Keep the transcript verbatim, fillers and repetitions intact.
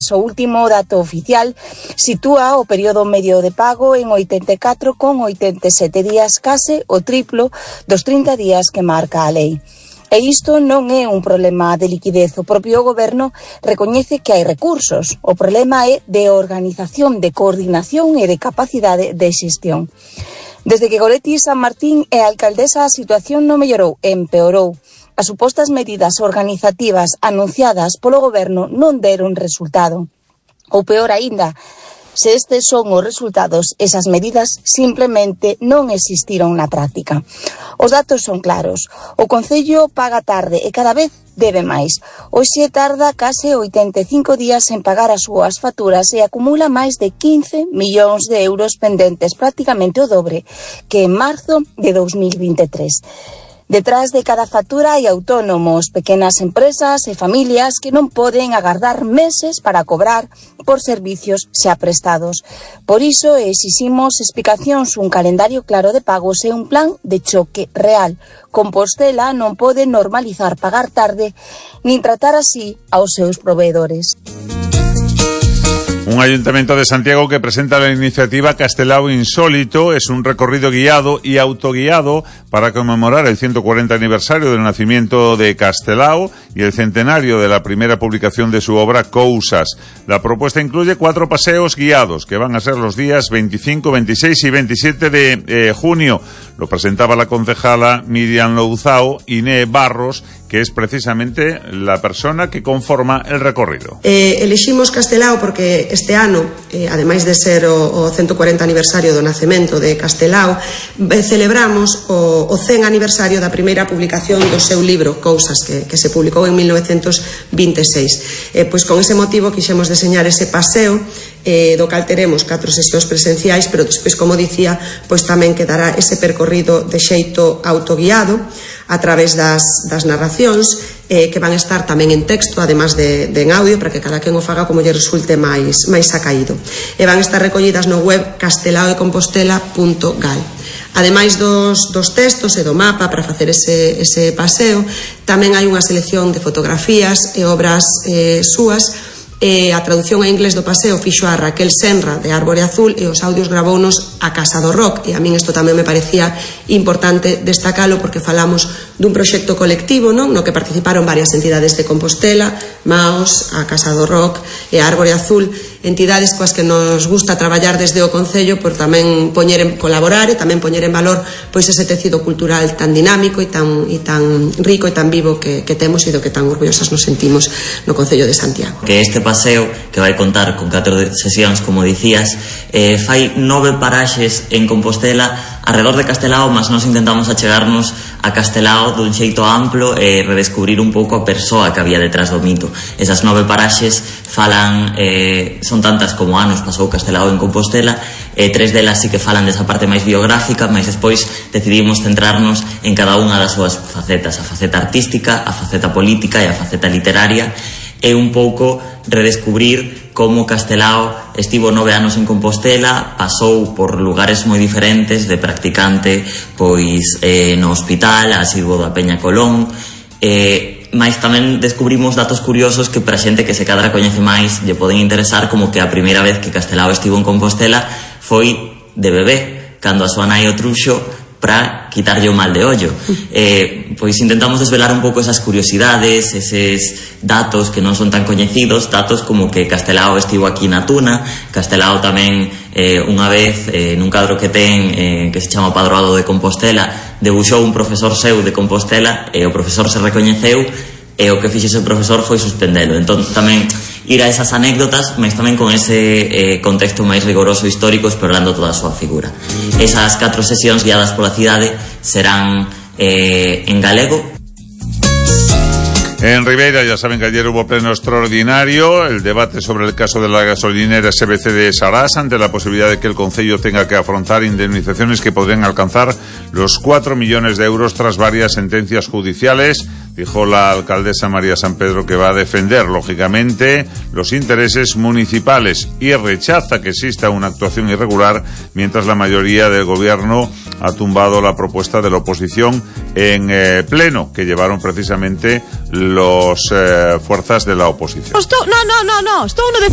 días. O último dato oficial sitúa o período medio de pago en oitenta e catro con oitenta e sete días, case o triplo dos trinta días que marca a lei. E isto non é un problema de liquidez. O propio goberno recoñece que hai recursos. O problema é de organización, de coordinación e de capacidade de xestión. Desde que Goretti San Martín é alcaldesa, a situación non mellorou, empeorou. As supostas medidas organizativas anunciadas polo goberno non deron resultado. Ou peor aínda, se estes son os resultados, esas medidas simplemente non existiron na práctica. Os datos son claros. O Concello paga tarde e cada vez debe máis. Hoxe tarda case oitenta e cinco días en pagar as súas facturas e acumula máis de quince millóns de euros pendentes, prácticamente o dobre que en marzo de dous mil vinte e tres. Detrás de cada factura hai autónomos, pequenas empresas e familias que non poden agardar meses para cobrar por servicios xa prestados. Por iso exiximos explicacións, un calendario claro de pagos e un plan de choque real. Compostela non pode normalizar pagar tarde nin tratar así aos seus proveedores. Un ayuntamiento de Santiago que presenta la iniciativa Castelao Insólito. Es un recorrido guiado y autoguiado para conmemorar el ciento cuarenta aniversario del nacimiento de Castelao y el centenario de la primera publicación de su obra Cousas. La propuesta incluye cuatro paseos guiados que van a ser los días veinticinco, veintiséis y veintisiete de eh, junio. Lo presentaba la concejala Miriam Louzao, Iné Barros, que es precisamente la persona que conforma el recorrido. Eh, eliximos Castelao porque este ano, eh, ademais de ser o, o ciento cuarenta aniversario do nacemento de Castelao, eh, celebramos o, o cen aniversario da primeira publicación do seu libro Cousas, que, que se publicou en mil novecentos vinte e seis. Eh, pois con ese motivo quixemos deseñar ese paseo, eh, do cal teremos catro sesións presenciais, pero despois, como dicía, pois tamén quedará ese percorrido de xeito autoguiado a través das, das narracións, eh, que van a estar tamén en texto, además de, de en audio, para que cada quen o faga como lle resulte máis, máis acaído. E van a estar recollidas no web castelao de compostela punto gal. Ademais dos, dos textos e do mapa para facer ese, ese paseo, tamén hai unha selección de fotografías e obras eh, súas. E a traducción en inglés do paseo fixo a Raquel Senra de Árbore Azul e os audios gravounos a Casa do Rock, e a min isto tamén me parecía importante destacalo porque falamos dun proxecto colectivo, non? No que participaron varias entidades de Compostela, Maos, a Casa do Rock e a Árbore Azul, entidades coas que nos gusta traballar desde o Concello por tamén poñer en, colaborar e tamén poñer en valor pois ese tecido cultural tan dinámico e tan, e tan rico e tan vivo que, que temos e do que tan orgullosas nos sentimos no Concello de Santiago. Que este paseo, que vai contar con catro sesións, como dicías, eh, fai nove paraxes en Compostela alrededor de Castelao, mas nós intentamos achegarnos a Castelao dun xeito amplo e redescubrir un pouco a persoa que había detrás do mito. Esas nove paraxes falan, eh, son tantas como anos pasou Castelao en Compostela, e tres delas sí que falan desa parte máis biográfica, mas despois decidimos centrarnos en cada unha das súas facetas, a faceta artística, a faceta política e a faceta literaria, e un pouco redescubrir como Castelao estivo nove anos en Compostela, pasou por lugares moi diferentes, de practicante pois eh, no hospital, asiduo da Peña Colón, eh, mas tamén descubrimos datos curiosos que para xente que se cadra coñece máis lle poden interesar, como que a primeira vez que Castelao estivo en Compostela foi de bebé, cando a súa nai o truxo para quitarlle o mal de ollo. Eh, pois intentamos desvelar un pouco esas curiosidades, eses datos que non son tan coñecidos, datos como que Castelao estivo aquí na Tuna, Castelao tamén eh, unha vez eh, nun cadro que ten eh, que se chama Padroado de Compostela, debuxou un profesor seu de Compostela e o profesor se recoñeceu e o que fixe ese profesor foi suspendelo. Entón tamén ir a esas anécdotas, mas tamén con ese eh, contexto máis rigoroso histórico, explorando toda a súa figura. Esas catro sesións guiadas pola cidade serán eh, en galego. En Ribeira ya saben que ayer hubo pleno extraordinario, el debate sobre el caso de la gasolinera S B C de Sarás, ante la posibilidad de que el Concello tenga que afrontar indemnizaciones que podrían alcanzar los cuatro millones de euros tras varias sentencias judiciales. Dijo la alcaldesa María San Pedro que va a defender, lógicamente, los intereses municipales y rechaza que exista una actuación irregular, mientras la mayoría del gobierno ha tumbado la propuesta de la oposición en eh, pleno, que llevaron precisamente los eh, fuerzas de la oposición. Estou, no, no, no, no, estou no decir